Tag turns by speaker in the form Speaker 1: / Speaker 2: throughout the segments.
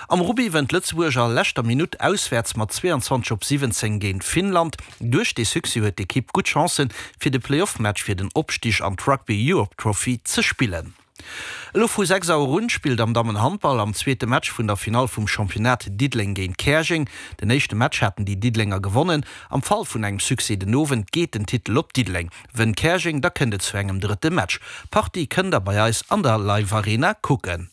Speaker 1: Am Rugby wënnt Lëtzebuerg a leschter Minutt auswäerts mat 22 op 17 géint Finnland. Duerch dee Succès huet d'Ekipp gutt Chancen, fir de Playoff-Match fir den Opstig an d'Rugby Europe Trophy ze spillen. Elo vu 6 Auer un spillt am Dammenhandball am zweete Match vun der Finall vum Championnat Diddeleng géint Käerjeng. Den éischte Match haten déi Diddelenger gewonnen. Am Fall vun engem Succès den Owend geet den Titel op Diddeleng. Wënnt Käerjeng, da kënnt et zu engem drëtte Match. D'Partie kënnt der bei eis an der Live Arena kucken.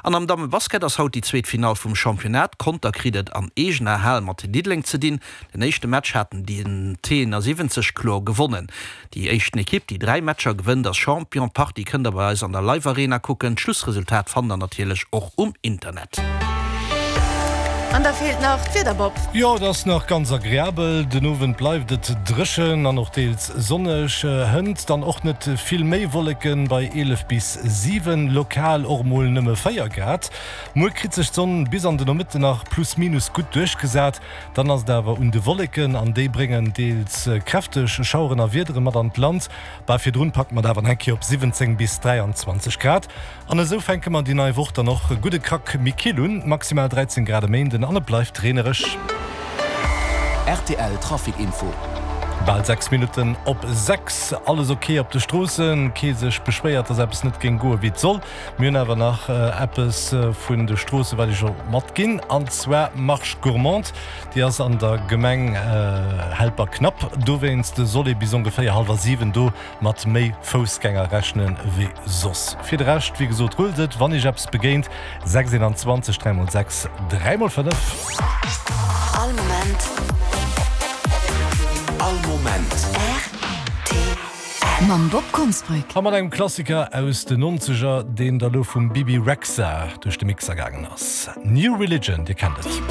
Speaker 1: An am Dammebasket ass haut déi zweet Finall vum Championnat. Conter kritt et an eegener Hal mat Diddeleng ze dinn. Den éischte Match haten déi T71 kloer gewonnen. Déi éischten Ekipp, déi 3 Matcher gewënnt, ass Champion. D'Partie kënnt der bei eis an der Live Arena kucken. D'Schlussresultat fannt der natierlech och um Internet.
Speaker 2: An da feelt nach d'Wieder, Bob.
Speaker 3: Jo, et ass nach ganz agreabel. Den Owend bleift et dréchen an och deels sonneg. Hënt dann och net vill méi Wolleken bei 11 bis 7, lokal och mol nëmme 4 Grad. Muer kritt sech d'Sonn bis an de Nomëtte nach plus minus gutt duerchgesat. Dann ass et awer un de Wolleken an déi bréngen deels kräfteg Schaueren a Wiedere mat an d'Land. Bah, virdrun packe mer et awer nach eng Kéier op 17 bis 23 Grad. An esou fänke mer déi nei Woch dann och gutt e Krack méi kill un, maximal 13 Grad e Méinden an et bleift reenereg.
Speaker 4: Rtl Trafic Info.
Speaker 3: Bal 6 Minutten op 6, alles ok op de Stroossen, kee sech beschwéiert, dass eppes net géing goe wéi et soll. Mir hunn awer nach eppes vun de Stroosse wat ech och matginn, an zwar Marche Gourmande, déi ass an der Gemeng Helperknapp. Dowéinst soll ee bis ongeféier hallwer 7 do mat méi Foussgänger rechnen wéi soss. Fir de Rescht, wéi gesot, rullt et, wann iech eppes begéint, 6 21 3 mol 6 3 mol 5.
Speaker 4: All Moment. All Moment.
Speaker 2: Rtl. Mam Bob Konsbrück.
Speaker 3: A mat engem Klassiker aus den Nonzeger, deen da lo vum Bebe Rexha duerch de Mixer gaangen ass, New Religion, dir kennt et.